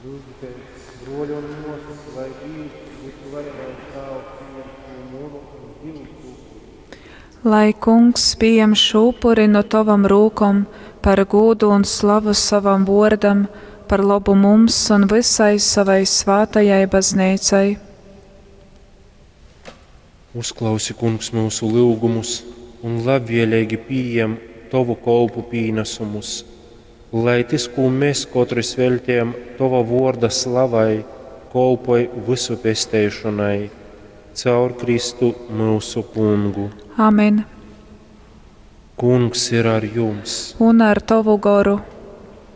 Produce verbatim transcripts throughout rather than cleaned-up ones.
Lyudzitēs, bruoli un muosys, lai Dīvs, vysuvarenais Tāvs, pījem šū munu un jyusu upuri. Lai Kungs pījem šū upuri nu tovom rūkom par gūdu un slavu sovam vuordam, par lobu mums un vysai sovai svātajai Bazneicai. Uzklausi, Kungs, myusu lyugumus un labvēleigi pījem tovu kolpu pīnasumus, lai tys, kū mes kotrys veļtejam tova vōrda slavai, kolpoj vysu pesteišonai. Caur Kristu, myusu Kungu. Amen. Kungs ir ar jums! Un ar tovu goru.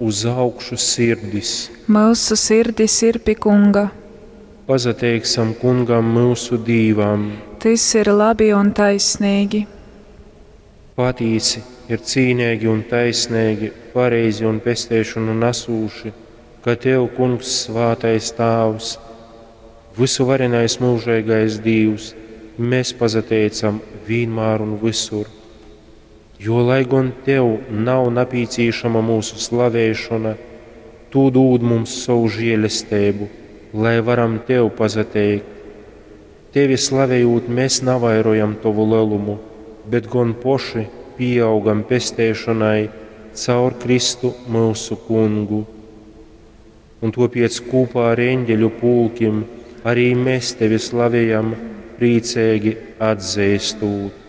Uz augšu sirdis! Myusu sirdis ir pi Kunga. Pasateiksam Kungam, myusu Dīvam! Tys ir labi un taisneigi. Patīsi, ir cīneigi un taisneigi, pareizi un pesteišonu nasūši, ka tev, Kungs, svātais Tāvs, vysuvarenais myužeigais Dīvs, mes pasateicam vīnmār un vysur. Jo, lai gon tev nav napīcīšama myusu slavēšona, tu dūd mums sovu žēlesteibu, lai varam tev pasateikt. Tevi slavejūt, mēs navairojam tovu lelumu, bet gon poši pīaugam pesteišonai caur Kristu myusu Kungu. Un tāpēc kopā ar eņģeļu pulkim arī mēs tevi slavējam, priecīgi atzīstot.